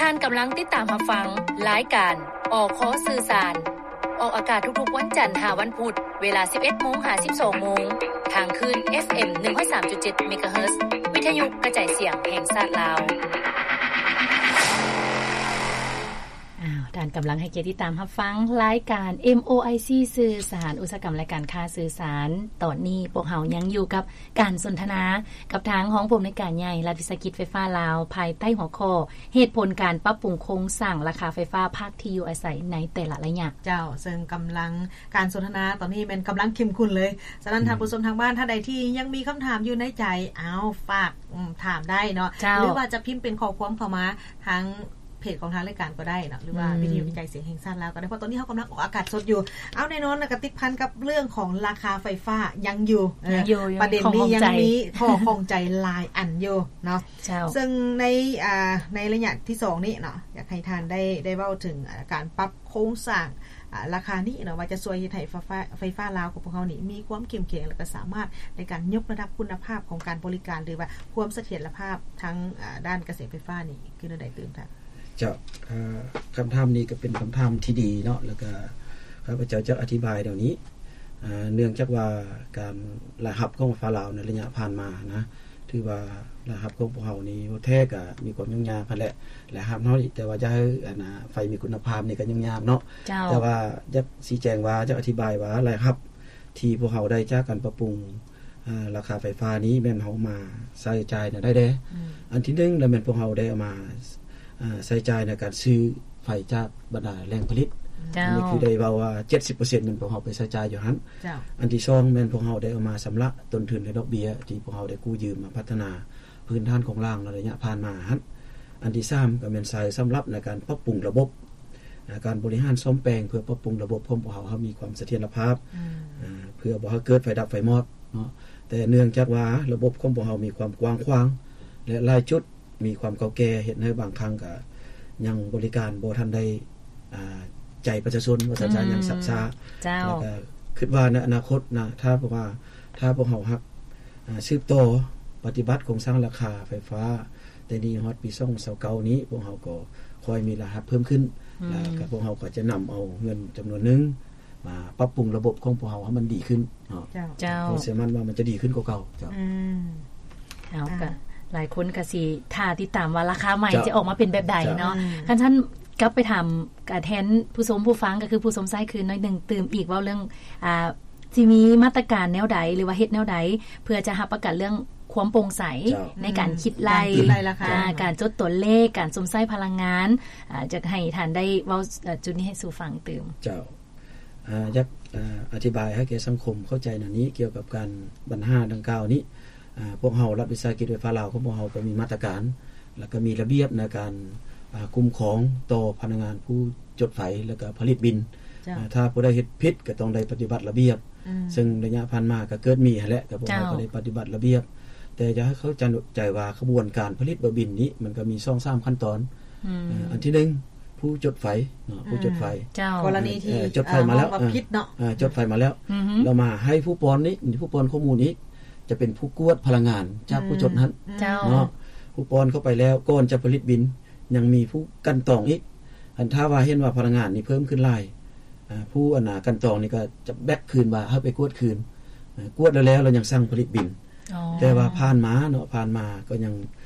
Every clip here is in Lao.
ທ່ານກຳລັງຕິດຕາມຮັບຟັງລາຍການ ອຄ ສື່ສານ ອອກອາກາດທຸກໆວັນຈັນຫາວັນພຸດ ເວລາສິບເອັດໂມງຫາສິບສອງໂມງ ທາງຄື້ນ ເອັຟເອັມ ໜຶ່ງຮ້ອຍສາມຈຸດເຈັດ ເມກາເຮີດ ວິທະຍຸກະຈາຍສຽງແຫ່ງຊາດລາວ. ອ້າວ ທ່ານກຳລັງໃຫ້ກຽດຕິດຕາມຮັບຟັງລາຍການ ເອັມໂອໄອຊີ ສື່ສານ ອຸດສາຫະກຳ ແລະ ການຄ້າສື່ສານ. ຕອນນີ້ພວກເຮົາຍັງຢູ່ກັບການສົນທະນາກັບທາງຮອງຜູ້ອຳນວຍການໃຫຍ່ລັດວິສາຫະກິດໄຟຟ້າລາວ ພາຍໃຕ້ຫົວຂໍ້ ເຫດຜົນການປັບປຸງໂຄງສ້າງລາຄາໄຟຟ້າພາກທີ່ຢູ່ອາໄສໃນແຕ່ລະໄລຍະ. ເຈົ້າ ເຊິ່ງກຳລັງ ການສົນທະນາຕອນນີ້ແມ່ນກຳລັງເຂັ້ມຂຸ້ນເລີຍ. ສະນັ້ນ ອືມ ທ່ານຜູ້ຊົມທາງບ້ານທ່ານໃດທີ່ຍັງມີຄຳຖາມຢູ່ໃນໃຈ ເອົາ ຝາກ ອືມ ຖາມໄດ້ເນາະ ເຈົ້າ ຫຼືວ່າຈະພິມເປັນຂໍ້ຄວາມເຂົ້າມາທາງເພຈຂອງທາງລາຍການກໍໄດ້ເນາະ ຫຼືວ່າ ອືມ ວິທະຍຸກະຈາຍສຽງແຫ່ງຊາດລາວກໍໄດ້ ເພາະຕອນນີ້ເຮົາກຳລັງອອກອາກາດສົດຢູ່. ເອົາ ແນ່ນອນນະ ກະຕິດພັນກັບເລື່ອງຂອງລາຄາໄຟຟ້າຍັງຢູ່ ເອີ ຍັງຢູ່ ປະເດັນນີ້ຍັງມີຂໍ້ຂ້ອງໃຈຫຼາຍອັນຢູ່ເນາະ. ເຈົ້າ ເຊິ່ງໃນ ອ່າ ໃນໄລຍະທີສອງນີ້ເນາະ ຢາກໃຫ້ທ່ານໄດ້ ໄດ້ເວົ້າເຖິງ ອ່າ ການປັບໂຄງສ້າງ ອ່າ ລາຄານີ້ເນາະ ວ່າຈະຊ່ວຍເຮັດໃຫ້ໄຟຟ້າ ໄຟຟ້າລາວຂອງພວກເຮົານີ້ມີຄວາມເຂັ້ມແຂງ ແລ້ວກໍສາມາດໃນການຍົກລະດັບຄຸນນະພາບຂອງການບໍລິການ ຫຼືວ່າຄວາມສະຖຽນລະພາບທາງ ອ່າ ດ້ານກະແສໄຟຟ້ານີ້ຄືແນວໃດຕື່ມທ່ານ? ເຈົ້າ ອ່າ ຄຳຖາມນີ້ກໍເປັນຄຳຖາມທີ່ດີເນາະ ແລ້ວກໍຂ້າພະເຈົ້າຈະອະທິບາຍແນວນີ້. ອ່າ ເນື່ອງຈາກວ່າການລາຍຮັບຂອງໄຟຟ້າລາວໃນໄລຍະຜ່ານມານະ ຖືວ່າລາຍຮັບຂອງພວກເຮົານີ້ ແທ້ກໍມີຄວາມຫຍຸ້ງຍາກຫັ້ນແຫຼະ ລາຍຮັບເຮົານີ້ ແຕ່ວ່າຈະໃຫ້ ອັນນ່າ ໄຟມີຄຸນນະພາບນີ້ກໍຫຍຸ້ງຍາກເນາະ. ເຈົ້າ ແຕ່ວ່າຢາກຊີ້ແຈງວ່າ ຢາກອະທິບາຍວ່າ ລາຍຮັບທີ່ພວກເຮົາໄດ້ຈາກການປັບປຸງ ອ່າ ລາຄາໄຟຟ້ານີ້ ແມ່ນເຮົາມາໃຊ້ຈ່າຍນະໄດ້ແດ່. ອືມ ອັນທີໜຶ່ງລະແມ່ນພວກເຮົາໄດ້ເອົາມາ ອ່າ ໃຊ້ຈ່າຍໃນການຊື້ໄຟຈາກບັນດາແຫຼ່ງຜະລິດ. ເຈົ້າ ອັນນີ້ຄືໄດ້ເວົ້າວ່າ ເຈັດສິບເປີເຊັນ ແມ່ນພວກເຮົາໄປໃຊ້ຈ່າຍຢູ່ຫັ້ນ. ເຈົ້າ ອັນທີສອງແມ່ນພວກເຮົາໄດ້ເອົາມາຊຳລະຕົ້ນທຶນ ແລະ ດອກເບ້ຍ ທີ່ພວກເຮົາໄດ້ກູ້ຢືມມາພັດທະນາພື້ນຖານຂອງລ່າງໃນໄລຍະຜ່ານມາຫັ້ນ. ອັນທີສາມກໍແມ່ນໃຊ້ສຳລັບໃນການປັບປຸງລະບົບ ອ່າ ການບໍລິຫານສ້ອມແປງ ເພື່ອປັບປຸງລະບົບຂອງພວກເຮົາໃຫ້ມີຄວາມສະຖຽນລະພາບ ອືມ ອ່າ ເພື່ອບໍ່ໃຫ້ເກີດໄຟດັບໄຟມອດເນາະ. ແຕ່ເນື່ອງຈາກວ່າລະບົບຂອງພວກເຮົາມີຄວາມກວ້າງຂວາງ ແລະ ຫຼາຍຈຸດ ມີຄວາມເກົ່າແກ່ ເຮັດໃຫ້ບາງຄັ້ງກະຍັງບໍລິການບໍ່ທັນໄດ້ ອ່າ ໃຈປະຊາຊົນ ວ່າຊັ້ນຊະ ອືມ ຍັງຊັກຊ້າ. ເຈົ້າ ແລ້ວກະຄິດວ່າໃນອະນາຄົດນະ ຖ້າເພາະວ່າ ຖ້າພວກເຮົາຫາກ ອ່າ ສືບຕໍ່ປະຕິບັດໂຄງສ້າງລາຄາໄຟຟ້າ ແຕ່ນີ້ຮອດປີສອງພັນຊາວເກົ້ານີ້ ພວກເຮົາກໍຄ່ອຍມີລາຍຮັບເພີ່ມຂຶ້ນ ອືມ ແລ້ວກະພວກເຮົາກໍຈະນຳເອົາເງິນຈຳນວນໜຶ່ງ ມາປັບປຸງລະບົບຂອງພວກເຮົາໃຫ້ມັນດີຂຶ້ນເນາະ. ເຈົ້າ ເຈົ້າ ເຮົາເຊື່ອໝັ້ນວ່າມັນຈະດີຂຶ້ນກວ່າເກົ່າ. ເຈົ້າ ອືມ ເອົາ ອ່າ ກະຫຼາຍຄົນກະຊິຖ້າຕິດຕາມວ່າລາຄາໃໝ່ ເຈົ້າ ຈະອອກມາເປັນແບບໃດເນາະ. ເຈົ້າ ອືມ ຄັນຊັ້ນກັບໄປຖາມ ກະແທນຜູ້ຊົມຜູ້ຟັງ ກະຄືຜູ້ຊົມຊາຍຄືນໜ້ອຍໜຶ່ງຕື່ມອີກ ເວົ້າເລື່ອງ ອ່າ ຊິມີມາດຕະການແນວໃດ ຫຼືວ່າເຮັດແນວໃດ ເພື່ອຈະຮັບປະກັນເລື່ອງຄວາມໂປ່ງໃສ ເຈົ້າ ໃນການ ອືມ ຄິດໄລ່ ການຄິດໄລ່ລາຄາ ອ່າ ການຈົດຕົວເລກ ການຊົມໃຊ້ພະລັງງານ ອ່າ ຢາກໃຫ້ທ່ານໄດ້ເວົ້າ ເອີ ຈຸດນີ້ໃຫ້ສູ່ຟັງຕື່ມ. ເຈົ້າ ອ່າ ຢາກ ອ່າ ອະທິບາຍໃຫ້ແກ່ສັງຄົມເຂົ້າໃຈແນວນີ້ ກ່ຽວກັບການ ບັນຫາດັ່ງກ່າວນີ້ ອ່າ ພວກເຮົາລັດວິສາຫະກິດໄຟຟ້າລາວຂອງພວກເຮົາກໍມີມາດຕະການ ແລ້ວກໍມີລະບຽບໃນການ ອ່າ ຄຸ້ມຄອງຕໍ່ພະນັກງານຜູ້ຈົດໄຟ ແລ້ວກໍຜະລິດບິນ. ເຈົ້າ ອ່າ ຖ້າຜູ້ໃດເຮັດຜິດກໍຕ້ອງໄດ້ປະຕິບັດລະບຽບ ອືມ ເຊິ່ງໄລຍະຜ່ານມາກໍເກີດມີຫັ້ນແຫຼະ ກໍພວກເຮົາ ເຈົ້າ ກໍໄດ້ປະຕິບັດລະບຽບ. ແຕ່ຢາກໃຫ້ເຂົ້າໃຈວ່າຂະບວນການຜະລິດເບົາບິນນີ້ ມັນກໍມີສອງສາມຂັ້ນຕອນ. ອືມ ເອີ ອັນທີໜຶ່ງ ຜູ້ຈົດໄຟເນາະ ອືມ ຜູ້ຈົດໄຟ ເຈົ້າ ກໍລະນີທີ່ ເອີ ຈົດໄຟມາແລ້ວ ເອີ ວ່າຜິດເນາະ ເອີ ຈົດໄຟມາແລ້ວ ອືຮຶ ແລ້ວມາໃຫ້ຜູ້ປ້ອນນີ້ ຜູ້ປ້ອນຂໍ້ມູນນີ້ ຈະເປັນຜູ້ກວດພະລັງງານຈາກ ອືມ ຜູ້ຈົດຫັ້ນ ເຈົ້າ ເນາະ. ຜູ້ປ້ອນເຂົ້າໄປແລ້ວ ກ່ອນຈະຜະລິດບິນ ຍັງມີຜູ້ກັ່ນຕອງອີກ. ຄັນຖ້າວ່າເຫັນວ່າພະລັງງານນີ້ເພີ່ມຂຶ້ນຫຼາຍ ອ່າ ຜູ້ອັນນ່າກັ່ນຕອງນີ້ກໍຈະແບັກຄືນວ່າໃຫ້ໄປກວດຄືນ ເອີ ກວດແລ້ວໆ ແລ້ວຍັງສັ່ງຜະລິດບິນ. ອໍ ແຕ່ວ່າຜ່ານມາເນາະ ຜ່ານມາກໍຍັງ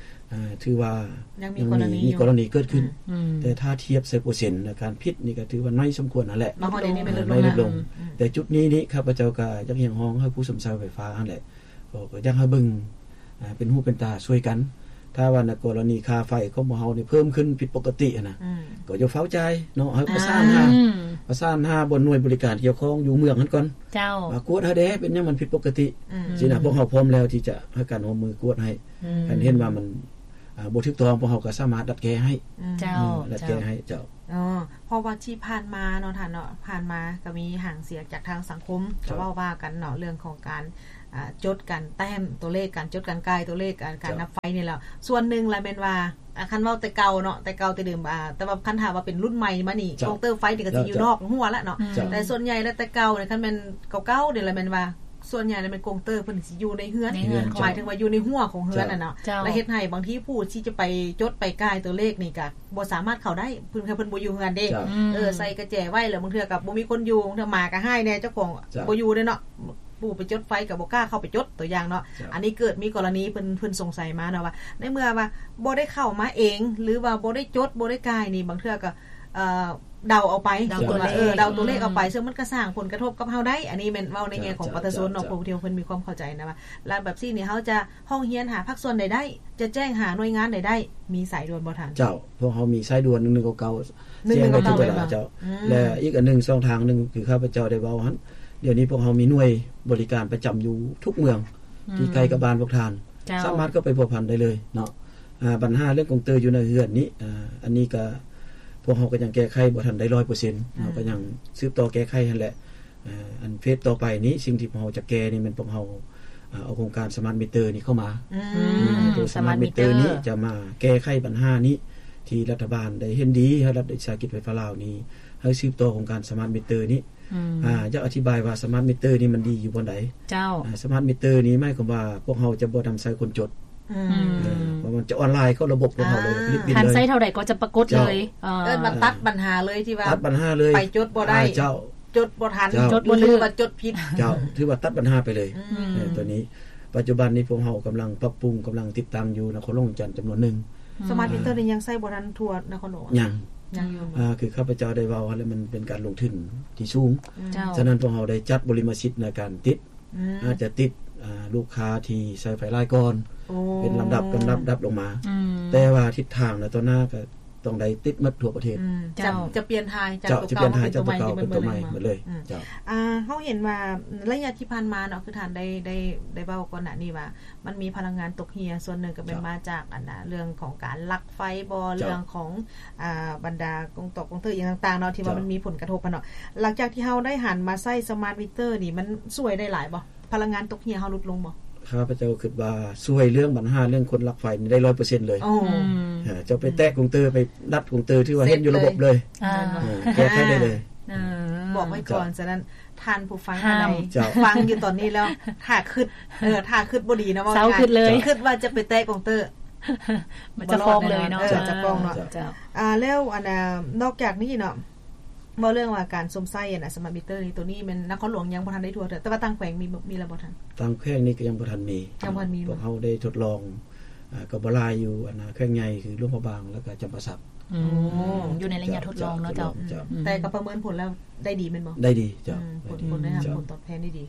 ອ່າ ຖືວ່າຍັງມີ ຍັງມີກໍລະນີ ມີກໍລະນີເກີດຂຶ້ນ ອືມ ແຕ່ຖ້າທຽບໃສ່ເປີເຊັນໃນການຜິດນີ້ກໍຖືວ່າໜ້ອຍສົມຄວນຫັ້ນແຫຼະ ມາຮອດນີ້ແມ່ນ ອ່າ ລົດລົງ ແຕ່ຈຸດນີ້ນີ້ ຂ້າພະເຈົ້າກໍຢາກຮຽກຮ້ອງໃຫ້ຜູ້ຊົມໃຊ້ໄຟຟ້າຫັ້ນແຫຼະ ກໍ ກໍຢາກໃຫ້ເບິ່ງ ອ່າ ເປັນຫູເປັນຕາຊ່ວຍກັນ. ຖ້າວ່າໃນກໍລະນີຄ່າໄຟຂອງພວກເຮົານີ້ເພີ່ມຂຶ້ນຜິດປົກກະຕິຫັ້ນນະ ອືມ ກໍຢ່າຟ້າວຈ່າຍເນາະ ໃຫ້ປະສານຫາ ອືມ ປະສານຫາບ່ອນໜ່ວຍບໍລິການກ່ຽວຂ້ອງຢູ່ເມືອງຫັ້ນກ່ອນ ເຈົ້າ ວ່າກວດໃຫ້ແດ່ ເປັນຫຍັງມັນຜິດປົກກະຕິ ອືມ ຊີ້ນະ ພວກເຮົາພ້ອມແລ້ວທີ່ຈະໃຫ້ການຮ່ວມມືກວດໃຫ້ ອືມ ຄັນເຫັນວ່າມັນ ອ່າ ບໍ່ຖືກຕ້ອງ ພວກເຮົາກໍສາມາດດັດແກ້ໃຫ້ ອືມ ເຈົ້າ ເອີ ດັດແກ້ໃຫ້ ເຈົ້າ ເຈົ້າ. ອໍ ເພາະວ່າທີ່ຜ່ານມາເນາະທ່ານເນາະ ຜ່ານມາກໍມີຫາງສຽງຈາກທາງສັງຄົມ ເຈົ້າ ກໍເວົ້າວ່າກັນເນາະ ເລື່ອງຂອງການ ອ່າ ຈົດການແຕ້ມຕົວເລກ ການຈົດການກ່າຍຕົວເລກ ການ ການ ເຈົ້າ ນັບໄຟນີ້ແຫຼະ. ສ່ວນໜຶ່ງລະແມ່ນວ່າ ອ່າ ຄັນເວົ້າແຕ່ເກົ່າເນາະ ແຕ່ເກົ່າແຕ່ເດີມ ອ່າ ແຕ່ວ່າຄັນຖ້າວ່າເປັນລຸ້ນໃໝ່ມານີ້ ເຈົ້າ ເຄົາເຕີໄຟນີ້ກໍຊິ ເຈົ້າ ຢູ່ນອກຮົ້ວລະເນາະ ເຈົ້າ ແຕ່ສ່ວນໃຫຍ່ແລ້ວແຕ່ເກົ່ານີ້ ຄັນແມ່ນເກົ່າໆນີ້ລະແມ່ນວ່າ ສ່ວນໃຫຍ່ແລ້ວແມ່ນກົງເຕີເພິ່ນຊິຢູ່ໃນເຮືອນ ໃນເຮືອນ ໝາຍເຖິງວ່າຢູ່ໃນຮົ້ວຂອງເຮືອນ ເຈົ້າ ນັ້ນເນາະ ເຈົ້າ ແລ້ວເຮັດໃຫ້ບາງທີຜູ້ທີ່ຈະໄປຈົດໄປກາຍຕົວເລກນີ້ກະບໍ່ສາມາດເຂົ້າໄດ້ ເພິ່ນ ເພິ່ນບໍ່ຢູ່ເຮືອນເດ້ ເຈົ້າ ອືມ ເອີ ໃສ່ກະແຈໄວ້ ແລ້ວບາງເທື່ອກະບໍ່ມີຄົນຢູ່ ບາງເທື່ອໝາກະຮ້າຍແດ່ ເຈົ້າຂອງ ເຈົ້າ ບໍ່ຢູ່ເດ້ເນາະ ຜູ້ໄປຈົດໄຟກະບໍ່ກ້າເຂົ້າໄປຈົດ ຕົວຢ່າງເນາະ ເຈົ້າ ອັນນີ້ເກີດມີກໍລະນີ ເພິ່ນ ເພິ່ນສົງໄສມາເນາະວ່າ ໃນເມື່ອວ່າບໍ່ໄດ້ເຂົ້າມາເອງ ຫຼືວ່າບໍ່ໄດ້ຈົດ ບໍ່ໄດ້ກາຍນີ້ ບາງເທື່ອກະ ເອີ ເດົາເອົາໄປ ເດົາຕົວເລກ ເອີ ເດົາຕົວເລກເອົາໄປ ອືມ ເຊິ່ງມັນກະສ້າງຜົນກະທົບກັບເຮົາໄດ້ ອັນນີ້ແມ່ນເວົ້າໃນແງ່ຂອງ ເຈົ້າ ປະຊາຊົນເນາະ ເຈົ້າ ເຈົ້າ ຜູ້ທີ່ເພິ່ນມີຄວາມເຂົ້າໃຈນະວ່າ ແລ້ວແບບຊີ້ນີ້ເຮົາຈະຮ້ອງຮຽນຫາພາກສ່ວນໃດໄດ້ ຈະແຈ້ງຫາໜ່ວຍງານໃດໄດ້ ມີສາຍດ່ວນບໍ່ທ່ານ? ເຈົ້າ ພວກເຮົາມີສາຍດ່ວນ ໜຶ່ງໜຶ່ງເກົ້າເກົ້າ ໜຶ່ງໜຶ່ງເກົ້າເກົ້າ ແຈ້ງໄດ້ທຸກເວລາ ເຈົ້າ ອືມ ແລະ ອີກອັນໜຶ່ງ ຊ່ອງທາງໜຶ່ງ ຄືຂ້າພະເຈົ້າໄດ້ເວົ້າຫັ້ນ ດຽວນີ້ພວກເຮົາມີໜ່ວຍບໍລິການປະຈຳຢູ່ທຸກເມືອງ ອືມ ທີ່ໃກ້ກັບບ້ານພວກທ່ານ ເຈົ້າ ສາມາດເຂົ້າໄປພົວພັນໄດ້ເລີຍເນາະ ອາ ບັນຫາເລື່ອງກົງເຕີຢູ່ໃນເຮືອນນີ້ ອາ ອັນນີ້ກະ ພວກເຮົາກະຍັງແກ້ໄຂບໍ່ທັນໄດ້ຮ້ອຍເປີເຊັນ ອືມ ເຮົາກະຍັງສືບຕໍ່ແກ້ໄຂຫັ້ນແຫຼະ ອາ ອັນເຟສຕໍ່ໄປນີ້ ສິ່ງທີ່ພວກເຮົາຈະແກ້ນີ້ແມ່ນພວກເຮົາ ອາ ເອົາໂຄງການສະມາດມິເຕີນີ້ເຂົ້າມາ ອືມ ອືມ ໂຕສະມາດມິເຕີນີ້ຈະມາແກ້ໄຂບັນຫານີ້ ທີ່ລັດຖະບານໄດ້ເຫັນດີ ໃຫ້ລັດວິສາຫະກິດໄຟຟ້າລາວນີ້ ໃຫ້ສືບຕໍ່ໂຄງການສະມາດມິເຕີນີ້ ອືມ ອາ ຢາກອະທິບາຍວ່າສະມາດມິເຕີນີ້ມັນດີຢູ່ບ່ອນໃດ? ເຈົ້າ ອາ ສະມາດມິເຕີນີ້ໝາຍຄວາມວ່າພວກເຮົາຈະບໍ່ນຳໃຊ້ຄົນຈົດ ອືມ ເອີ ເພາະມັນຈະອອນລາຍເຂົ້າລະບົບຂອງເຮົາເລີຍ ອ່າ ຜະລິດບິນເລີຍ ທ່ານໃຊ້ເທົ່າໃດກໍຈະປາກົດເລີຍ ເຈົ້າ ເອີ ເອີ ມັນຕັດບັນຫາເລີຍທີ່ວ່າ ຕັດບັນຫາເລີຍ ໄປຈົດບໍ່ໄດ້ ເຈົ້າ ຈົດບໍ່ທັນ ຈົດບໍ່ຖືກ ຫຼືວ່າຈົດຜິດ ເຈົ້າ ຖືວ່າຕັດບັນຫາໄປເລີຍ ອືມ ເອີ ຕົວນີ້ ປັດຈຸບັນນີ້ພວກເຮົາກຳລັງປັບປຸງ ກຳລັງຕິດຕັ້ງຢູ່ນະຄອນຫຼວງວຽງຈັນຈຳນວນໜຶ່ງ ສະມາດມິເຕີນີ້ຍັງໃຊ້ບໍ່ທັນທົ່ວນະຄອນຫຼວງ ຍັງ ຍັງຢູ່ ອາ ຄືຂ້າພະເຈົ້າໄດ້ເວົ້າຫັ້ນແຫຼະ ມັນເປັນການລົງທຶນທີ່ສູງ ເຈົ້າ ສະນັ້ນພວກເຮົາໄດ້ຈັດບໍລິມະສິດໃນການຕິດ ອືມ ອາດຈະຕິດ ອາ ລູກຄ້າທີ່ໃຊ້ໄຟຫຼາຍກ່ອນ ໂອ້ ເປັນລຳດັບ ລຳດັບ ລຳດັບລົງມາ ອືມ ແຕ່ວ່າທິດທາງໃນຕໍ່ໜ້າກະຕ້ອງໄດ້ຕິດໝົດທົ່ວປະເທດ ອືມ ເຈົ້າ ຈະ ຈະປ່ຽນຖ່າຍຈາກ ເຈົ້າ ຕົວເກົ່າ ຈະປ່ຽນຖ່າຍຈາກຕົວເກົ່າເປັນຕົວໃໝ່ໝົດເລີຍ ອືມ ເຈົ້າ ອາ ເຮົາເຫັນວ່າໄລຍະທີ່ຜ່ານມາເນາະ ຄືທ່ານໄດ້ ໄດ້ ໄດ້ເວົ້າກ່ອນໜ້ານີ້ວ່າ ມັນມີພະລັງງານຕົກເຫື່ອ ສ່ວນໜຶ່ງກໍແມ່ນ ເຈົ້າ ມາຈາກອັນນ່າ ເລື່ອງຂອງການລັກໄຟບໍ ເຈົ້າ ເລື່ອງຂອງ ອ່າ ບັນດາກົງຕອກກົງເຕີອີ່ຫຍັງຕ່າງໆເນາະ ທີ່ວ່າ ເຈົ້າ ມັນມີຜົນກະທົບຫັ້ນເນາະ ຫຼັງຈາກທີ່ເຮົາໄດ້ຫັນມາໃຊ້ສະມາດມິເຕີນີ້ ມັນຊ່ວຍໄດ້ຫຼາຍບໍ່? ພະລັງງານຕົກເຫື່ອເຮົາຫຼຸດລົງບໍ່? ຂ້າພະເຈົ້າຄິດວ່າຊ່ວຍເລື່ອງບັນຫາເລື່ອງຄົນລັກໄຟນີ້ໄດ້ຮ້ອຍເປີເຊັນເລີຍ ໂອ້ ອືມ ເຈົ້າໄປແຕະກົງເຕີ ໄປດັດກົງເຕີ ຖືວ່າເຮັດຢູ່ລະບົບເລີຍ ເຮັດເລີຍ ອ່າ ເອີ ແກ້ໄຂໄດ້ເລີຍ ເອີ ບອກໄວ້ກ່ອນ ເຈົ້າ ສະນັ້ນ ທ່ານຜູ້ຟັງ ເຈົ້າ ທ່ານໃດ ເຈົ້າ ຟັງຢູ່ຕອນນີ້ແລ້ວ ຖ້າຄຶດ ເອີ ຖ້າຄຶດບໍ່ດີນະ ເຊົາຄຶດເລີຍ ຄຶດວ່າຈະໄປແຕະກົງເຕີ ມັນຈະຟ້ອງເລີຍເນາະ ເອີ ຈະຟ້ອງເນາະ ເຈົ້າ ອ່າ ແລ້ວອັນນ່າ ນອກຈາກນີ້ເນາະ ເວົ້າເລື່ອງວ່າການຊົມໃຊ້ອັນນ່າ ສະມາດມິເຕີນີ້ ໂຕນີ້ແມ່ນນະຄອນຫຼວງຍັງບໍ່ທັນໄດ້ທົ່ວເທື່ອ ແຕ່ວ່າຕ່າງແຂວງມີ ມີແລ້ວບໍ່ທ່ານ? ຕ່າງແຂວງນີ້ກໍຍັງບໍ່ທັນມີ ຍັງບໍ່ທັນມີ ພວກເຮົາໄດ້ທົດລອງ ອ່າ ກໍບໍ່ຫຼາຍຢູ່ ອັນນ່າ ແຂວງໃຫຍ່ຄືຫຼວງພະບາງ ແລ້ວກໍຈຳປາສັກ ອືມ ໂອ້ ຢູ່ໃນໄລຍະທົດລອງເນາະ ເຈົ້າ ເຈົ້າ ອືມ ແຕ່ກໍປະເມີນຜົນແລ້ວໄດ້ດີແມ່ນບໍ່? ໄດ້ດີ ເຈົ້າ ອືມ ຜົນ ຜົນໄດ້ຮັບຜົນຕອບແທນໄດ້ດີ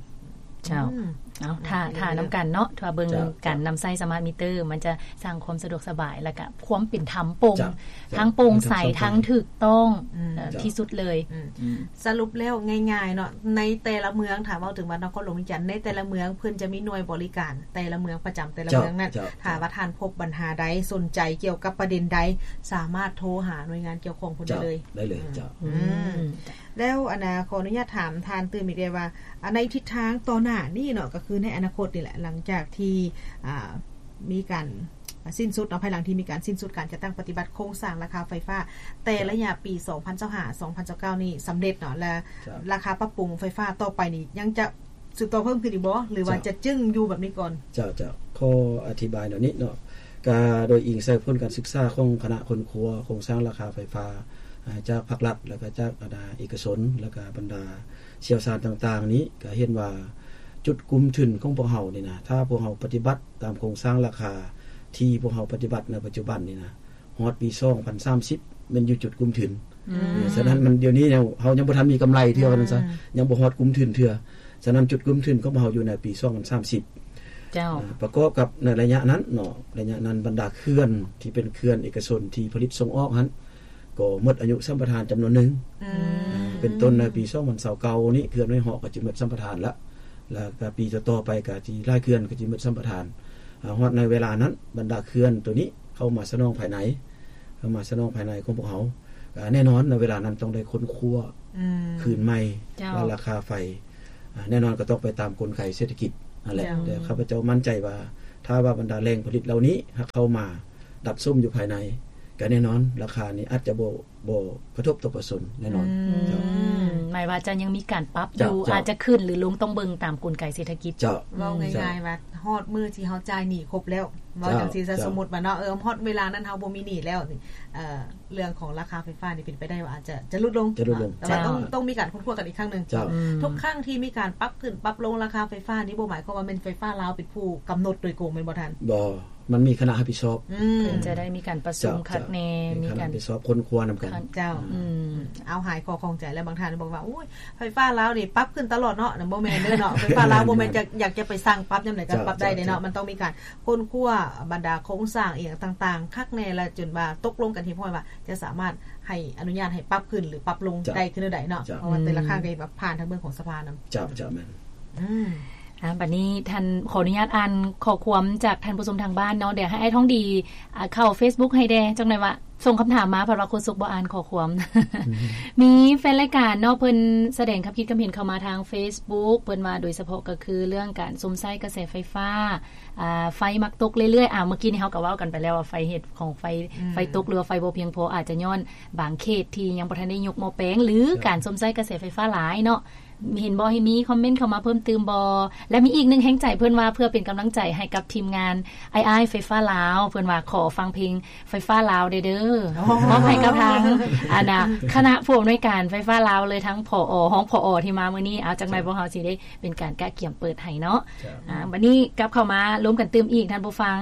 ເຈົ້າ ອືມ ເອົາ ຖ້າ ຖ້ານຳກັນເນາະ ຖ້າເບິ່ງ ເຈົ້າ ການນຳໃຊ້ສະມາດມິເຕີ ມັນຈະສ້າງຄວາມສະດວກສະບາຍ ແລ້ວກໍຄວາມເປັນທຳໂປ່ງ ເຈົ້າ ທັງໂປ່ງໃສ ເຈົ້າ ທັງຖືກຕ້ອງ ອືມ ເອີ ເຈົ້າ ທີ່ສຸດເລີຍ ອືມ ອືມ ສະຫຼຸບແລ້ວງ່າຍໆເນາະ ໃນແຕ່ລະເມືອງ ຖ້າເວົ້າເຖິງວ່ານະຄອນຫຼວງວຽງຈັນ ໃນແຕ່ລະເມືອງເພິ່ນຈະມີໜ່ວຍບໍລິການແຕ່ລະເມືອງ ປະຈຳແຕ່ລະເມືອງນັ້ນ ເຈົ້າ ຖ້າວ່າທ່ານພົບບັນຫາໃດ ສົນໃຈກ່ຽວກັບປະເດັນໃດ ສາມາດໂທຫາໜ່ວຍງານກ່ຽວຂ້ອງເພິ່ນໄດ້ເລີຍ ໄດ້ເລີຍ ອືມ ເຈົ້າ ອືມ ອືມ ແລ້ວອັນນ່າ ຂໍອະນຸຍາດຖາມທ່ານຕື່ມອີກໄດ້ວ່າ ອັນ ໃນທິດທາງຕໍ່ໜ້ານີ້ເນາະ ກໍຄືໃນອະນາຄົດນີ້ແຫຼະ ຫຼັງຈາກທີ່ ອ່າ ມີການສິ້ນສຸດເນາະ ພາຍຫຼັງທີ່ມີການສິ້ນສຸດການຈັດຕັ້ງປະຕິບັດໂຄງສ້າງລາຄາໄຟຟ້າ ແຕ່ລະໄລຍະປີສອງພັນຊາວຫ້າ ສອງພັນຊາວເກົ້ານີ້ສຳເລັດເນາະ ແລະ ເຈົ້າ ລາຄາປັບປຸງໄຟຟ້າຕໍ່ໄປນີ້ ຍັງຈະສືບຕໍ່ເພີ່ມຂຶ້ນອີກບໍ່ ຫຼືວ່າ ເຈົ້າ ຈະຈຶ່ງຢູ່ແບບນີ້ກ່ອນ? ເຈົ້າ ເຈົ້າ ຂໍອະທິບາຍແນວນີ້ເນາະ ກະໂດຍອີງໃສ່ຜົນການສຶກສາຂອງຄະນະຄົ້ນຄວ້າໂຄງສ້າງລາຄາໄຟຟ້າ ອາ ຈາກພາກລັດ ແລ້ວກະຈາກ ອາ ເອກະຊົນ ແລ້ວກະບັນດາຊ່ຽວຊານຕ່າງໆນີ້ ກະເຫັນວ່າຈຸດກຸມທຶນຂອງພວກເຮົານີ້ນະ ຖ້າພວກເຮົາປະຕິບັດຕາມໂຄງສ້າງລາຄາທີ່ພວກເຮົາປະຕິບັດໃນປັດຈຸບັນນີ້ນະ ຮອດປີສອງພັນສາມສິບ ແມ່ນຢູ່ຈຸດກຸມທຶນ ອືມ ສະນັ້ນມັນ ດຽວນີ້ເຮົາຍັງບໍ່ທັນມີກຳໄລເທື່ອ ອືມ ວ່າຊັ້ນຊະ ຍັງບໍ່ຮອດກຸມທຶນເທື່ອ ສະນັ້ນຈຸດກຸມທຶນຂອງເຮົາຢູ່ໃນປີສອງພັນສາມສິບ ເຈົ້າ ອາ ປະກອບກັບໃນໄລຍະນັ້ນເນາະ ໄລຍະນັ້ນບັນດາເຂື່ອນທີ່ເປັນເຂື່ອນເອກະຊົນທີ່ຜະລິດສົ່ງອອກຫັ້ນ ກໍໝົດອາຍຸສຳປະທານຈຳນວນໜຶ່ງ ອືມ ອາ ເປັນຕົ້ນໃນປີສອງພັນຊາວເກົ້ານີ້ ເຂື່ອນຫ້ວຍເຫາະກໍຈະໝົດສຳປະທານລະ ແລ້ວກະປີຕໍ່ໆໄປກະຊິຫຼາຍເຂື່ອນກໍຈະໝົດສຳປະທານ ອາ ຮອດໃນເວລານັ້ນ ບັນດາເຂື່ອນໂຕນີ້ເຂົ້າມາສະໜອງພາຍໃນ ເຂົ້າມາສະໜອງພາຍໃນຂອງພວກເຮົາ ກະແນ່ນອນໃນເວລານັ້ນຕ້ອງໄດ້ຄົ້ນຄວ້າ ອືມ ຄືນໃໝ່ ເຈົ້າ ວ່າລາຄາໄຟ ອາ ແນ່ນອນກໍຕ້ອງໄປຕາມກົນໄກເສດຖະກິດຫັ້ນແຫຼະ ເຈົ້າ ແຕ່ຂ້າພະເຈົ້າໝັ້ນໃຈວ່າ ຖ້າວ່າບັນດາແຫຼ່ງຜະລິດເຫຼົ່ານີ້ຫາກເຂົ້າມາດັບສົມຢູ່ພາຍໃນ ກະແນ່ນອນລາຄານີ້ອາດຈະບໍ່ ບໍ່ກະທົບຕໍ່ປະຊາຊົນແນ່ນອນ ອືມ ເຈົ້າ ອືມ ໝາຍວ່າຈະຍັງມີການປັບຢູ່ ເຈົ້າ ເຈົ້າ ອາດຈະຂຶ້ນຫຼືລົງ ຕ້ອງເບິ່ງຕາມກົນໄກເສດຖະກິດ. ເຈົ້າ ເວົ້າ ເຈົ້າ ງ່າຍໆວ່າຮອດມື້ທີ່ເຮົາຈ່າຍໜີ້ຄົບແລ້ວ ເວົ້າ ເຈົ້າ ຈັ່ງຊີ້ຊະ ເຈົ້າ ສົມມຸດວ່າເນາະ ເອີ ຮອດເວລານັ້ນເຮົາບໍ່ມີໜີ້ແລ້ວນີ້ ເອີ ເລື່ອງຂອງລາຄາໄຟຟ້ານີ້ເປັນໄປໄດ້ວ່າອາດຈະ ຈະຫຼຸດລົງ ຈະຫຼຸດລົງ ແຕ່ວ່າ ເຈົ້າ ຕ້ອງ ຕ້ອງມີການຄົ້ນຄວ້າກັນອີກຄັ້ງໜຶ່ງ. ເຈົ້າ ອືມ ທຸກຄັ້ງທີ່ມີການປັບຂຶ້ນປັບລົງລາຄາໄຟຟ້ານີ້ ບໍ່ໝາຍຄວາມວ່າແມ່ນໄຟຟ້າລາວເປັນຜູ້ກຳນົດໂດຍກົງແມ່ນບໍ່ທ່ານ? ບໍ່ ມັນມີຄະນະຮັບຜິດຊອບ ອືມ ເພິ່ນຈະໄດ້ມີການປະຊຸມ ເຈົ້າ ຄັກແນ່ ເຈົ້າ ມີການ ມີຄະນະຮັບຜິດຊອບຄົ້ນຄວ້ານຳກັນ. ເຈົ້າ ອືມ ອືມ ເອົາ ຫາຍຂໍ້ຂ້ອງໃຈແລ້ວ ບາງທ່ານບອກວ່າ ໂອ້ຍ ໄຟຟ້າລາວນີ້ປັບຂຶ້ນຕະຫຼອດເນາະ. ບໍ່ແມ່ນເດີເນາະ ໄຟຟ້າລາວບໍ່ແມ່ນຈະ ຢາກຈະໄປສັ່ງປັບຍາມໃດກໍ ເຈົ້າ ປັບໄດ້ເດ້ເນາະ ເຈົ້າ ມັນຕ້ອງມີການຄົ້ນຄວ້າ ບັນດາໂຄງສ້າງອີ່ຫຍັງຕ່າງໆ ຄັກແນ່ ແລະຈົນວ່າຕົກລົງກັນຮຽບຮ້ອຍວ່າ ຈະສາມາດໃຫ້ອະນຸຍາດໃຫ້ປັບຂຶ້ນ ຫຼື ປັບລົງ ເຈົ້າ ໄດ້ຄືແນວໃດເນາະ. ເຈົ້າ ເພາະວ່າແຕ່ລະຄັ້ງກໍ ອືມ ແບບຜ່ານທາງເບື້ອງຂອງສະພານຳ. ເຈົ້າ ເຈົ້າ ແມ່ນ. ອືມ ອ່າ ບັດນີ້ທ່ານ ຂໍອະນຸຍາດອ່ານຂໍ້ຄວາມຈາກທ່ານຜູ້ຊົມທາງບ້ານເນາະ. ດຽວໃຫ້ອ້າຍທອງດີ ອ່າ ເຂົ້າເຟສບຸກໃຫ້ແດ່ ຈັກໜ່ອຍວ່າສົ່ງຄຳຖາມມາ ເພາະວ່າໂຄສົກບໍ່ອ່ານຂໍ້ຄວາມ. ອືມ ມີແຟນລາຍການເນາະ ເພິ່ນສະແດງຄຳຄິດຄຳເຫັນເຂົ້າມາທາງເຟສບຸກ ເພິ່ນວ່າໂດຍສະເພາະກໍຄືເລື່ອງການຊົມໃຊ້ກະແສໄຟຟ້າ ອ່າ ໄຟມັກຕົກເລື້ອຍໆ. ອ່າ ເມື່ອກີ້ນີ້ເຮົາກໍເວົ້າກັນໄປແລ້ວວ່າ ໄຟເຫດຂອງໄຟ ອືມ ໄຟຕົກ ຫຼືວ່າໄຟບໍ່ພຽງພໍ ອາດຈະຍ້ອນບາງເຂດທີ່ຍັງບໍ່ທັນໄດ້ຍົກໝໍ້ແປງ ຫຼື ເຈົ້າ ການຊົມໃຊ້ກະແສໄຟຟ້າຫຼາຍເນາະ. ເຫັນບໍ່ ໃຫ້ມີຄອມເມັນເຂົ້າມາເພີ່ມຕື່ມບໍ່? ແລະ ມີອີກໜຶ່ງແຮງໃຈ ເພິ່ນວ່າເພື່ອເປັນກຳລັງໃຈໃຫ້ກັບທີມງານອ້າຍໆໄຟຟ້າລາວ ເພິ່ນວ່າຂໍຟັງເພງໄຟຟ້າລາວແດ່ເດີ ໂອ້ ມອບໃຫ້ກັບທາງ ອັນນ່າ ຄະນະຜູ້ອຳນວຍການໄຟຟ້າລາວເລີຍ ທັງ ຜອ ຮອງ ຜອ ທີ່ມາມື້ນີ້. ເອົາ ຈັກໜ່ອຍ ເຈົ້າ ພວກເຮົາຊິໄດ້ເປັນການກະກຽມເປີດໃຫ້ເນາະ. ເຈົ້າ ອ່າ ບັດນີ້ກັບເຂົ້າມາລົມກັນຕື່ມອີກ ທ່ານຜູ້ຟັງ.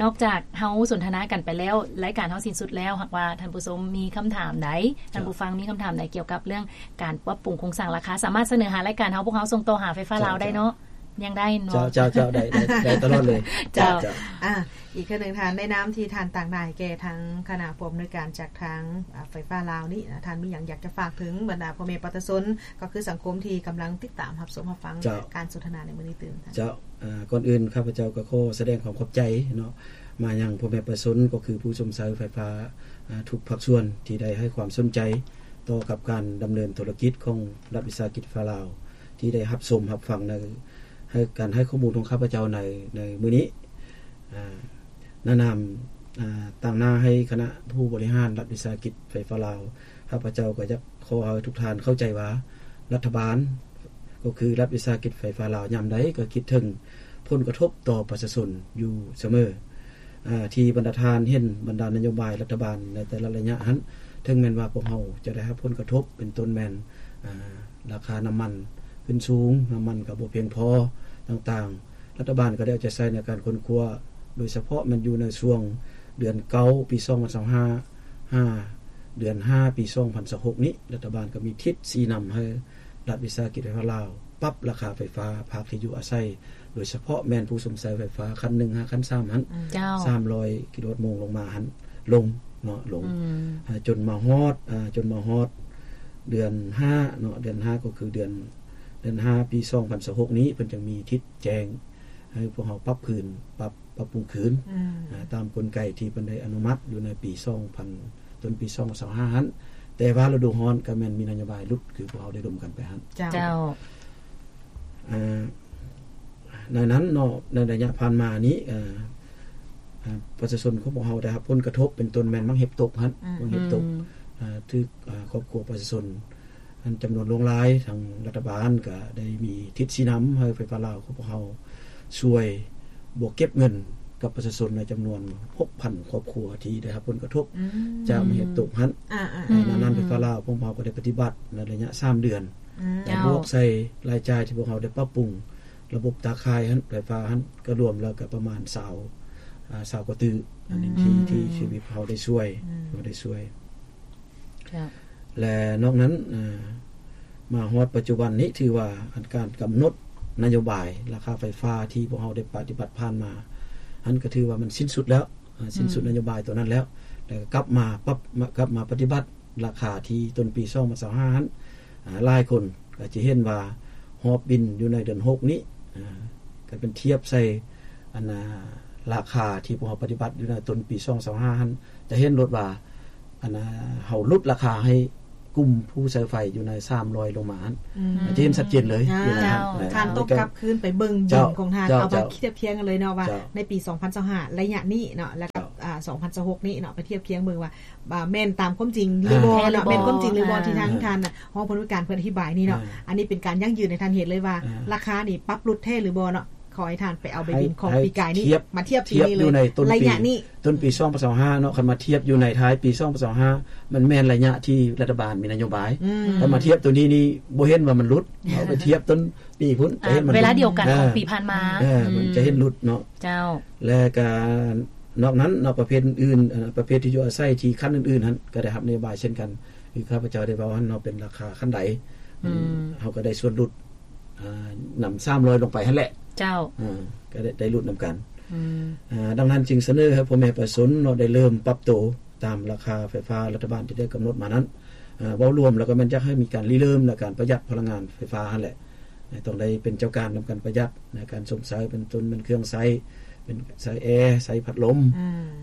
ນອກຈາກເຮົາສົນທະນາກັນໄປແລ້ວ ລາຍການເຮົາສິ້ນສຸດແລ້ວ ຫາກວ່າທ່ານຜູ້ຊົມມີຄຳຖາມໃດ ເຈົ້າ ທ່ານຜູ້ຟັງມີຄຳຖາມໃດກ່ຽວກັບເລື່ອງການປັບປຸງໂຄງສ້າງລາຄາ ສາມາດສະເໜີຫາລາຍການເຮົາ ພວກເຮົາສົ່ງຕໍ່ຫາໄຟຟ້າລາວໄດ້ເນາະ. ເຈົ້າ ເຈົ້າ ຍັງໄດ້ເນາະ. ເຈົ້າ ເຈົ້າ ໄດ້ ໄດ້ ໄດ້ຕະຫຼອດເລີຍ. ເຈົ້າ ເຈົ້າ ອ່າ ອີກເທື່ອໜຶ່ງ ທ່ານ ໃນນາມທີ່ທ່ານຕາງໜ້າແກ່ທາງຄະນະຜູ້ອຳນວຍການຈາກທາງ ອ່າ ໄຟຟ້າລາວນີ້ນະ ທ່ານມີຫຍັງຢາກຈະຝາກເຖິງບັນດາພໍ່ແມ່ປະຊາຊົນ ກໍຄືສັງຄົມທີ່ກຳລັງຕິດຕາມຮັບຊົມຮັບຟັງ ເຈົ້າ ການສົນທະນາໃນມື້ນີ້ຕື່ມ? ເຈົ້າ ອ່າ ກ່ອນອື່ນຂ້າພະເຈົ້າກໍຂໍສະແດງຄວາມຂອບໃຈເນາະ ມາຍັງພໍ່ແມ່ປະຊາຊົນ ກໍຄືຜູ້ຊົມໃຊ້ໄຟຟ້າ ອ່າ ທຸກພາກສ່ວນທີ່ໄດ້ໃຫ້ຄວາມສົນໃຈຕໍ່ກັບການດຳເນີນທຸລະກິດຂອງລັດວິສາຫະກິດໄຟຟ້າລາວ ທີ່ໄດ້ຮັບຊົມຮັບຟັງໃນ ໃຫ້ ການໃຫ້ຂໍ້ມູນຂອງຂ້າພະເຈົ້າໃນ ໃນມື້ນີ້. ອ່າ ໃນນາມ ອ່າ ຕາງໜ້າໃຫ້ຄະນະຜູ້ບໍລິຫານລັດວິສາຫະກິດໄຟຟ້າລາວ ຂ້າພະເຈົ້າກໍຢາກຂໍໃຫ້ທຸກທ່ານເຂົ້າໃຈວ່າ ລັດຖະບານ ກໍຄືລັດວິສາຫະກິດໄຟຟ້າລາວ ຍາມໃດກໍຄິດເຖິງຜົນກະທົບຕໍ່ປະຊາຊົນຢູ່ສະເໝີ. ອ່າ ທີ່ບັນດາທ່ານເຫັນບັນດານະໂຍບາຍລັດຖະບານໃນແຕ່ລະໄລຍະຫັ້ນ ເຖິງແມ່ນວ່າພວກເຮົາຈະໄດ້ຮັບຜົນກະທົບ ເປັນຕົ້ນແມ່ນ ອ່າ ລາຄານ້ຳມັນຂຶ້ນສູງ, ນ້ຳມັນກໍບໍ່ພຽງພໍຕ່າງໆ, ລັດຖະບານກໍໄດ້ເອົາໃຈໃສ່ໃນການຄົ້ນຄວ້າ, ໂດຍສະເພາະແມ່ນຢູ່ໃນຊ່ວງເດືອນເກົ້າ ປີສອງພັນຊາວຫ້າ ຫາເດືອນຫ້າ ປີສອງພັນຊາວຫົກນີ້, ລັດຖະບານກໍມີທິດຊີ້ນຳໃຫ້ລັດວິສາຫະກິດໄຟຟ້າລາວ ປັບລາຄາໄຟຟ້າພາກທີ່ຢູ່ອາໄສ, ໂດຍສະເພາະແມ່ນຜູ້ຊົມໃຊ້ໄຟຟ້າຂັ້ນໜຶ່ງຫາຂັ້ນສາມຫັ້ນ, ເຈົ້າ. ສາມຮ້ອຍກິໂລວັດໂມງລົງມາຫັ້ນ ລົງເນາະ ລົງ ອືມ ອ່າ ຈົນມາຮອດ ອ່າ ຈົນມາຮອດເດືອນຫ້າເນາະ, ເດືອນຫ້າກໍຄືເດືອນ ເດືອນຫ້າ ປີສອງພັນຊາວຫົກນີ້ ເພິ່ນຈຶ່ງມີທິດແຈ້ງໃຫ້ພວກເຮົາປັບຄືນ ປັບ ປັບປຸງຄືນ ອືມ ອ່າ ຕາມກົນໄກທີ່ເພິ່ນໄດ້ອະນຸມັດຢູ່ໃນປີສອງພັນ ຕົ້ນປີສອງພັນຊາວຫ້າຫັ້ນ, ແຕ່ວ່າລະດູຮ້ອນກໍແມ່ນມີນະໂຍບາຍຫຼຸດ ຄືພວກເຮົາໄດ້ລົມກັນໄປຫັ້ນ. ເຈົ້າ ເຈົ້າ. ອ່າ ໃນນັ້ນເນາະ ໃນໄລຍະຜ່ານມານີ້ ເອີ ອ່າ ປະຊາຊົນຂອງພວກເຮົາໄດ້ຮັບຜົນກະທົບ ເປັນຕົ້ນແມ່ນໝາກເຫັບຕົກຫັ້ນ ອືມ ໝາກເຫັບຕົກ ອືມ ອ່າ ຖືກ ອ່າ ຄອບຄົວປະຊາຊົນ ອັນຈຳນວນຫຼວງຫຼາຍ, ທາງລັດຖະບານກໍໄດ້ມີທິດຊີ້ນຳໃຫ້ໄຟຟ້າລາວຂອງພວກເຮົາຊ່ວຍບວກເກັບເງິນກັບປະຊາຊົນໃນຈຳນວນຫົກພັນຄອບຄົວທີ່ໄດ້ຮັບຜົນກະທົບ ອືມ ຈາກເຫດຕົກຫັ້ນ. ອາໆ ໃນນັ້ນ ອືມ ໄຟຟ້າລາວຂອງພວກເຮົາກໍໄດ້ປະຕິບັດໃນໄລຍະສາມເດືອນ ອືມ ແລະ ບວກໃສ່ລາຍຈ່າຍທີ່ພວກເຮົາໄດ້ປັບປຸງລະບົບຕາຂ່າຍຫັ້ນ ໄຟຟ້າຫັ້ນ ກໍລວມແລ້ວກໍປະມານຊາວ ອ່າ ຊາວກວ່າຕື້ ອັນນີ້ທີ່ ອືມ ທີ່ ທີ່ພວກເຮົາໄດ້ຊ່ວຍ ອືມ ເຮົາໄດ້ຊ່ວຍ. ເຈົ້າ. ແລະ ນອກນັ້ນ ເອີ ມາຮອດປັດຈຸບັນນີ້ ຖືວ່າອັນການກຳນົດນະໂຍບາຍລາຄາໄຟຟ້າທີ່ພວກເຮົາໄດ້ປະຕິບັດຜ່ານມາຫັ້ນ ກໍຖືວ່າມັນສິ້ນສຸດແລ້ວ ເອີ ສິ້ນສຸດ ອືມ ນະໂຍບາຍຕົວນັ້ນແລ້ວ ແລ້ວກໍກັບມາປັບ ມາ ກັບມາປະຕິບັດລາຄາທີ່ຕົ້ນປີສອງພັນຊາວຫ້າຫັ້ນ ອ່າ ຫຼາຍຄົນກໍຈະເຫັນວ່າຮອບບິນຢູ່ໃນເດືອນຫົກນີ້ ອ່າ ກໍເປັນທຽບໃສ່ ອັນ ອ່າ ລາຄາທີ່ພວກເຮົາປະຕິບັດຢູ່ໃນຕົ້ນປີສອງພັນຊາວຫ້າຫັ້ນ ຈະເຫັນໂລດວ່າ ອັນ ອ່າ ເຮົາຫຼຸດລາຄາໃຫ້ກຸ່ມຜູ້ໃຊ້ໄຟຢູ່ໃນສາມຮ້ອຍລົງມາຫັ້ນ ອືມ ຈະເຫັນຊັດເຈນເລີຍ ອ່າ ຢູ່ໃນ ເຈົ້າ ນັ້ນ ເຈົ້າ. ທ່ານຕ້ອງກັບຄືນໄປເບິ່ງບິນຂອງທ່ານ ເຈົ້າ ເອົາມາ ເຈົ້າ ທຽບທຽງກັນເລີຍເນາະວ່າ ເຈົ້າ ໃນປີສອງພັນຊາວຫ້າໄລຍະນີ້ເນາະ ແລ້ວກໍ ເຈົ້າ ອ່າ ສອງພັນຊາວຫົກນີ້ເນາະ ໄປທຽບຄຽງເບິ່ງວ່າ ວ່າແມ່ນຕາມຄວາມຈິງຫຼືບໍ່ເນາະ ແມ່ນຄວາມຈິງຫຼືບໍ່ ທີ່ທາງທ່ານຮອງຜູ້ອຳນວຍການເພິ່ນອະທິບາຍນີ້ເນາະ. ອັນນີ້ເປັນການຢັ້ງຢືນໃຫ້ທ່ານເຫັນເລີຍວ່າ ລາຄານີ້ປັບຫຼຸດແທ້ຫຼືບໍ່ເນາະ. ຂໍໃຫ້ທ່ານໄປເອົາໃບບິນຂອງປີກາຍນີ້ມາທຽບປີນີ້ເລີຍ ໄລຍະນີ້ ຕົ້ນປີສອງພັນຊາວຫ້າເນາະ. ຄັນມາທຽບຢູ່ໃນທ້າຍປີສອງພັນຊາວຫ້າ ມັນແມ່ນໄລຍະທີ່ລັດຖະບານມີນະໂຍບາຍ. ຄັນມາທຽບໂຕນີ້ນີ້ບໍ່ເຫັນວ່າມັນຫຼຸດ. ເຮົາໄປທຽບຕົ້ນ ປີພຸ້ນຈະເຫັນມັນ ເວລາດຽວກັນຂອງປີຜ່ານມາ ເອີ ເອີ ມັນຈະເຫັນຫຼຸດເນາະ. ເຈົ້າ ແລະກະນອກນັ້ນເນາະ ປະເພດອື່ນໆ ເອີ ປະເພດທີ່ຢູ່ອາໄສທີ່ຂັ້ນອື່ນໆຫັ້ນ ກະໄດ້ຮັບນະໂຍບາຍເຊັ່ນກັນ ຄືຂ້າພະເຈົ້າໄດ້ເວົ້າຫັ້ນເນາະ ເປັນລາຄາຂັ້ນໃດ ເອີ ເຮົາກະໄດ້ສ່ວນຫຼຸດ ນຳສາມຮ້ອຍລົງໄປຫັ້ນແຫຼະ. ເຈົ້າ ເອີ ກະໄດ້ ໄດ້ຫຼຸດນຳກັນ. ເອີ ດັ່ງນັ້ນຈຶ່ງສະເໜີໃຫ້ພໍ່ແມ່ປະຊາຊົນເນາະ ໄດ້ເລີ່ມປັບໂຕ ຕາມລາຄາໄຟຟ້າລັດຖະບານທີ່ໄດ້ກຳນົດມານັ້ນ. ເວົ້າລວມແລ້ວກໍແມ່ນຢາກໃຫ້ມີການລິເລີ່ມໃນການປະຢັດພະລັງງານໄຟຟ້າຫັ້ນແຫຼະ. ຕ້ອງໄດ້ເປັນເຈົ້າການນຳກັນປະຢັດໃນການຊົມໃຊ້ ເປັນຕົ້ນແມ່ນເຄື່ອງໃຊ້ ເປັນໃຊ້ແອ ໃຊ້ພັດລົມ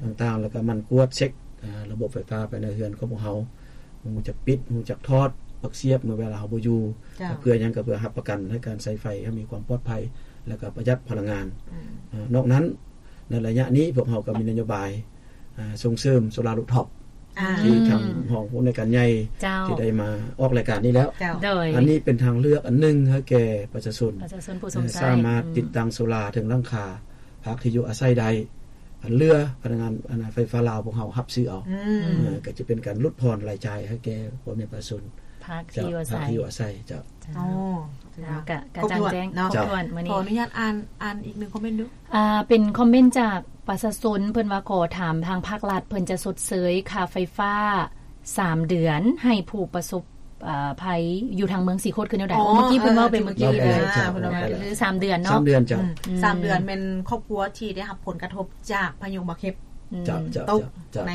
ຕ່າງໆ ແລ້ວກໍໝັ່ນກວດເຊັກ ອາ ລະບົບໄຟຟ້າພາຍໃນເຮືອນຂອງພວກເຮົາ ຮູ້ຈັກປິດ ຮູ້ຈັກຖອດ ປັກສຽບເມື່ອເວລາເຮົາບໍ່ຢູ່. ເພື່ອຫຍັງ? ກໍເພື່ອຮັບປະກັນໃຫ້ການໃຊ້ໄຟໃຫ້ມີຄວາມປອດໄພ ແລ້ວກໍປະຢັດພະລັງງານ. ນອກນັ້ນ ໃນໄລຍະນີ້ພວກເຮົາກໍມີນະໂຍບາຍ ອາ ສົ່ງເສີມໂຊລາຣູຟທັອບ ທີ່ທາງຮອງຜູ້ອຳນວຍການໃຫຍ່ທີ່ໄດ້ມາອອກລາຍການນີ້ແລ້ວ. ໂດຍ ອັນນີ້ເປັນທາງເລືອກອັນໜຶ່ງໃຫ້ແກ່ປະຊາຊົນ ປະຊາຊົນຜູ້ຊົມໃຊ້ ສາມາດຕິດຕັ້ງໂຊລາເທິງຫຼັງຄາພັກທີ່ຢູ່ອາໄສໄດ້. ອັນເຫຼືອພະນັກງານ ອັນ ໄຟຟ້າລາວພວກເຮົາຮັບຊື້ເອົາ. ເອີ ກໍຈະເປັນການຫຼຸດຜ່ອນລາຍຈ່າຍໃຫ້ແກ່ພໍ່ແມ່ປະຊາຊົນ ພັກທີ່ຢູ່ອາໄສ ພັກທີ່ຢູ່ອາໄສ. ເຈົ້າ ເຈົ້າ ກະ ກະຈ່າງແຈ້ງ ຄົບຖ້ວນ. ມື້ນີ້ ຂໍອະນຸຍາດອ່ານ ອ່ານອີກໜຶ່ງຄອມເມັນດູ. ອ່າ ເປັນຄອມເມັນຈາກປະຊາຊົນ ເພິ່ນວ່າຂໍຖາມທາງພາກລັດ ເພິ່ນຈະຊົດເຊີຍຄ່າໄຟຟ້າສາມເດືອນໃຫ້ຜູ້ປະສົບ ເອີ ໄພຢູ່ທາງເມືອງສີໂຄດຄືແນວໃດ? ເມື່ອກີ້ເພິ່ນເວົ້າໄປເມື່ອກີ້ນີ້ເລີຍ ເອີ ເພິ່ນວ່າ ຫຼື ສາມເດືອນເນາະ. ສາມເດືອນ ເຈົ້າ ອືມ ສາມເດືອນແມ່ນຄອບຄົວທີ່ໄດ້ຮັບຜົນກະທົບຈາກພາຍຸໝາກເຫັບ ເຈົ້າ ເຈົ້າ ຕົກ ເຈົ້າ ໃນ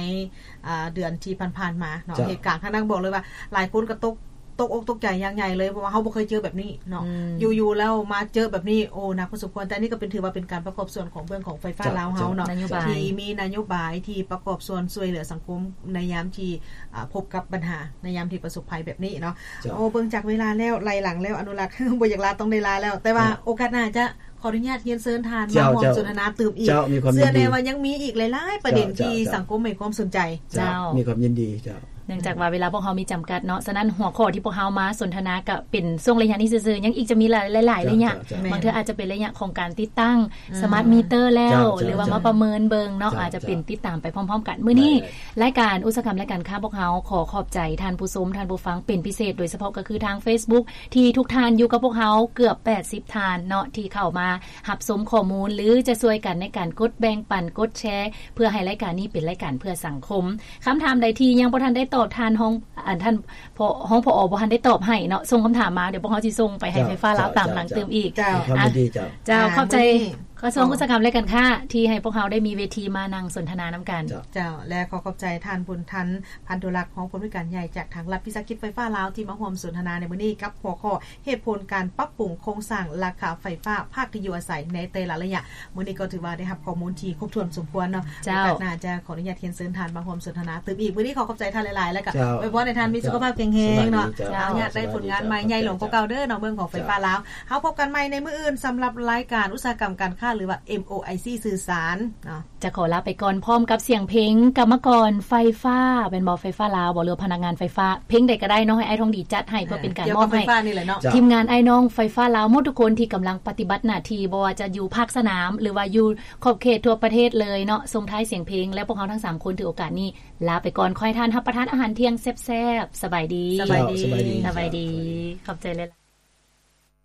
ອາ ເດືອນທີ່ຜ່ານໆມາເນາະ. ເຈົ້າ ເຫດການທາງນັ້ນບອກເລີຍວ່າ ຫຼາຍຄົນກໍຕົກ ຕົກອົກຕົກໃຈຢ່າງໃຫຍ່ເລີຍ ເພາະວ່າເຮົາບໍ່ເຄີຍເຈີແບບນີ້ເນາະ. ອືມ ຢູ່ໆແລ້ວມາເຈີແບບນີ້ ໂອ້ ໜັກພໍສົມຄວນ. ແຕ່ນີ້ກໍເປັນ ຖືວ່າເປັນການປະກອບສ່ວນຂອງເບື້ອງຂອງໄຟຟ້າລາວເຮົາເນາະ ເຈົ້າ ທີ່ມີນະໂຍບາຍທີ່ປະກອບສ່ວນຊ່ວຍເຫຼືອສັງຄົມໃນຍາມທີ່ ອາ ພົບກັບບັນຫາ ໃນຍາມທີ່ປະສົບໄພແບບນີ້ເນາະ. ໂອ້ ເບິ່ງຈາກເວລາແລ້ວ ໄລ່ຫຼັງແລ້ວ ອະນຸລັກ ບໍ່ຢາກລາ ຕ້ອງໄດ້ລາແລ້ວ ແຕ່ວ່າໂອກາດໜ້າຈະ ຂໍອະນຸຍາດຮຽນເຊີນທ່ານມາຮ່ວມສົນທະນາຕື່ມອີກ. ເຈົ້າ ມີຄວາມຍິນດີ. ເຊື່ອແນ່ວ່າຍັງມີອີກຫຼາຍໆປະເດັນ ເຈົ້າ ທີ່ ເຈົ້າ ສັງຄົມໃຫ້ຄວາມສົນໃຈ. ເຈົ້າ ເຈົ້າ ມີຄວາມຍິນດີ. ເຈົ້າ ເນື່ອງຈາກວ່າເວລາພວກເຮົາມີຈຳກັດເນາະ ສະນັ້ນຫົວຂໍ້ທີ່ພວກເຮົາມາສົນທະນາກະເປັນຊ່ວງໄລຍະນີ້ຊື່ໆ ຍັງອີກຈະມີຫຼາຍໆໄລຍະ. ເຈົ້າ ເຈົ້າ ເຈົ້າ ບາງເທື່ອອາດຈະເປັນໄລຍະຂອງການຕິດຕັ້ງ ອືມ ສະມາດມີເຕີແລ້ວ ເຈົ້າ ເຈົ້າ ຫຼືວ່າມາປະເມີນເບິ່ງເນາະ. ເຈົ້າ ອາດຈະເປັນ ເຈົ້າ ຕິດຕາມໄປພ້ອມໆກັນ. ມື້ນີ້ ເຈົ້າ ລາຍການອຸດສາຫະກຳລາຍການຄ້າພວກເຮົາຂໍຂອບໃຈທ່ານຜູ້ຊົມ ທ່ານຜູ້ຟັງເປັນພິເສດ ໂດຍສະເພາະກໍຄືທາງເຟສບຸກ ທີ່ທຸກທ່ານຢູ່ກັບພວກເຮົາເກືອບແປດສິບທ່ານເນາະ ທີ່ເຂົ້າມາຮັບຊົມຂໍ້ມູນ ຫຼື ຈະຊ່ວຍກັນໃນການກົດແບ່ງປັນ ກົດແຊ ເພື່ອໃຫ້ລາຍການນີ້ເປັນລາຍການເພື່ອສັງຄົມ. ຄຳຖາມໃດທີ່ຍັງບໍ່ທັນໄດ້ຕອບ ທ່ານຮອງ ອັນ ທ່ານ ຮອງ ຜອ ບໍ່ທັນໄດ້ຕອບໃຫ້ເນາະ ສົ່ງຄຳຖາມມາ ດຽວພວກເຮົາຊິສົ່ງໄປໃຫ້ໄຟຟ້າລາວຕາມຫຼັງຕື່ມອີກ. ເຈົ້າ ເຈົ້າ ເຈົ້າ ມີຄວາມຍິນດີ. ເຈົ້າ ເຈົ້າ ຂອບໃຈ ກະຊວງອຸດສາຫະກຳ ແລະ ການຄ້າ ທີ່ໃຫ້ພວກເຮົາໄດ້ມີເວທີມານັ່ງສົນທະນານຳກັນ. ເຈົ້າ ແລະ ຂໍຂອບໃຈທ່ານບຸນທັນ ພັນທຸລັກ ຮອງຜູ້ອຳນວຍການໃຫຍ່ຈາກທາງລັດວິສາຫະກິດໄຟຟ້າລາວ ທີ່ມາຮ່ວມສົນທະນາໃນມື້ນີ້ ກັບຫົວຂໍ້ ເຫດຜົນການປັບປຸງໂຄງສ້າງລາຄາໄຟຟ້າພາກທີ່ຢູ່ອາໄສໃນແຕ່ລະໄລຍະ. ມື້ນີ້ກໍຖືວ່າໄດ້ຮັບຂໍ້ມູນທີ່ຄົບຖ້ວນສົມຄວນເນາະ. ເຈົ້າ ໂອກາດໜ້າຈະຂໍອະນຸຍາດຮຽນເຊີນທ່ານມາຮ່ວມສົນທະນາຕື່ມອີກ. ມື້ນີ້ຂໍຂອບໃຈທ່ານຫຼາຍໆ ແລ້ວກໍອວຍພອນໃຫ້ທ່ານມີສຸຂະພາບແຂງແຮງເນາະ. ເຈົ້າ ສະບາຍດີ ເຈົ້າ ອະນຸຍາດໄດ້ຜົນງານໃໝ່ໃຫຍ່ຫຼວງກວ່າເກົ່າເດີເນາະ ເບື້ອງຂອງໄຟຟ້າລາວ. ເຮົາພົບກັນໃໝ່ໃນມື້ອື່ນ ສຳລັບລາຍການອຸດສາຫະກຳການຄ້າ ຫຼືວ່າ ເອັມໂອໄອຊີ ສື່ສານເນາະ. ຈະຂໍລາໄປກ່ອນພ້ອມກັບສຽງເພງກຳມະກອນໄຟຟ້າ ແມ່ນບໍ່? ໄຟຟ້າລາວບໍ່ ຫຼືວ່າພະນັກງານໄຟຟ້າ ເພງໃດກໍໄດ້ເນາະ ໃຫ້ອ້າຍທອງດີຈັດໃຫ້ ເພື່ອເປັນການມອບໃຫ້ທີມງານອ້າຍນ້ອງໄຟຟ້າລາວໝົດທຸກຄົນທີ່ກຳລັງປະຕິບັດໜ້າທີ່ ບໍ່ວ່າຈະຢູ່ພາກສະໜາມ ຫຼືວ່າຢູ່ຂອບເຂດທົ່ວປະເທດເລີຍເນາະ. ສົ່ງທ້າຍສຽງເພງ ແລະ ພວກເຮົາທັງສາມຄົນຖືໂອກາດນີ້ລາໄປກ່ອນ. ຂໍໃຫ້ທ່ານຮັບປະທານອາຫານທ່ຽງແຊບໆ. ສະບາຍດີ. ສະບາຍດີ. ເຈົ້າ ສະບາຍດີ. ຂອບໃຈຫຼາຍໆ.